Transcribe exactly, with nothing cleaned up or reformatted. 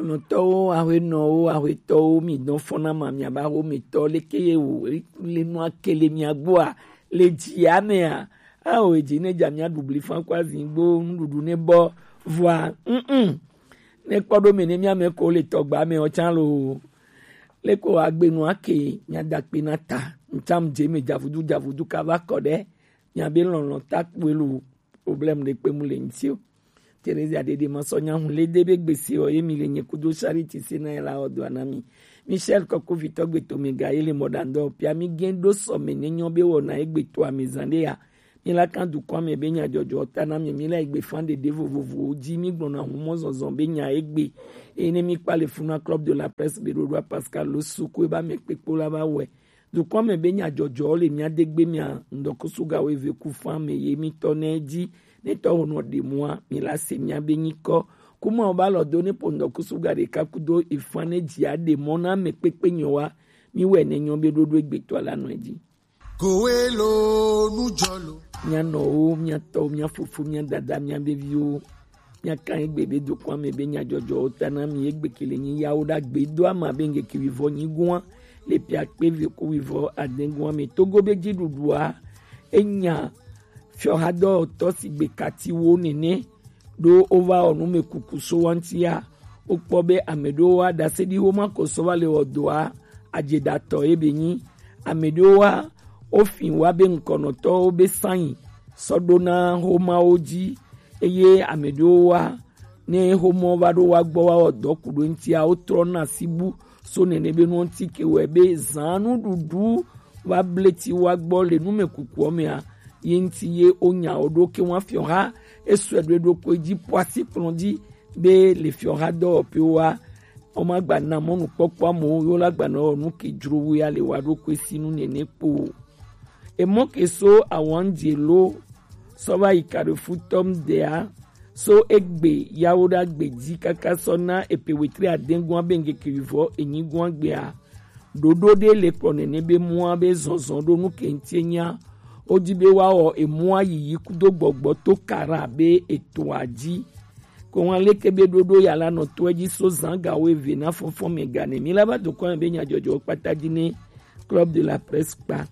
Nɔtɔwo, ahwenɔwo, ahwetɔwo, mi dɔn fɔna ma, mi aba ho mi tɔ leke ye wo le nua kele mi agboa le jia mea. Awo eji ne ja mi adubli fan kwa zingbo nuɖuɖu ne bɔ vɔa. Mm. Ne kpɔ ɖo me ne mi ame ko le tɔgba me o chan lo. Leko agbe nua ke mi adakpe na ta. Ncham je me javudu javudu ka va kɔ ɖe. Mi abe lɔlɔ ta kpue lo. Problème ɖe kpe mu le ŋuti o. Teresia Dede ma sɔ nya hun le de be gbese o ye mi le nye kudo Charity se na ye la o do ana mi. Michel Kɔkɔ vitɔ gbeto mi ga ye le mɔɖaŋdɔ pia mi gen ɖo sɔ me ne nyɔ be wɔna ye gbeto amezan ɖe ya. Mi la kan dukɔ ame be nya jɔjɔ ta na mi, mi la egbe fan ɖeɖe vovovowo ji, mi gblɔna humɔ zɔzɔ be nya egbe. Eye ne mi kpa le funa Club de la Presse be ɖoɖoa Pascal lo suku e ba me kpekpo la ba wɛ. Dukɔ me be nya jɔjɔ le mia de gbe mia ŋdɔkusu ga wo eve ku fan me ye mi tɔ ne ji, ne tɔ ho nɔ ɖe mua, mi la se mia be nyikɔ. Kuma o ba lɔ do ne po ŋdɔkusu ga ɖeka kudo efan ne ji a ɖe mɔ na me kpekpe nyɔ wa, mi wɛ ne nyɔ be ɖoɖo egbe tɔ la nɔ ji. Kowe lo nu jɔ lo. Mia nɔwo, mia tɔwo, mia fofo, mia dada, mia beviwo. Mia kan egbe be dukɔ ame be nya jɔjɔwo ta na mi egbe kele nyi yawo ɖa gbe do ama be ŋgeke wivɔ nyi gua le pia kpe ve ku wivɔ ade gua me. Togo be ji ɖuɖua enya fiɔhadɔtɔ si gbe katiwo nene ɖo wova wɔ nu me kuku so wa ŋutia. Wokpɔ be ame ɖewo wa ɖase ɖi woma ko sɔ va le wɔ doa adzeɖatɔ ye be nyi. Ame ɖewo wa wofi wa be ŋkɔnɔtɔwo be sanyi sɔ ɖo na homawo ji, eye ame ɖewo wa ne homɔ va ɖo wa gbɔ wa wɔ dɔ ku ɖo ŋutia wotrɔ na sibu so nene be nuwo ŋuti ke wɛ be zan nuɖuɖu va bleti wa gbɔ le nume kukua mea ye ŋuti ye wonya wo ɖo ke wa fiɔ ha esɔe ɖo ɖokui ji poasi kplɔ ji be le fiɔ ha dɔwɔƒewo wa woma gba na mɔnukpɔkpɔ amewo yo la gba na wɔ nu ke dzro wo ya le wa ɖokui si nu nene kpo o. Emɔ ke so awanjelo sɔ va yi Carrefour tɔm dea so egbe yawo ɖa gbe ji kaka sɔ na epe wetri adengua be ŋgeke wivɔ enyigua gbea. Ɖoɖo ɖe le kplɔ nene be mua be zɔzɔ ɖo nu ke ŋuti nya. Wodi be woawɔ emua yiyi kudo gbɔgbɔ to kara be etoa ji. Ko wan leke be ɖoɖo ya la nɔ toa ji so zan ga wo eve na fɔfɔ me gane mi la va dokɔ be nya jɔjɔ kpata ji ne Club de la Presse kpa.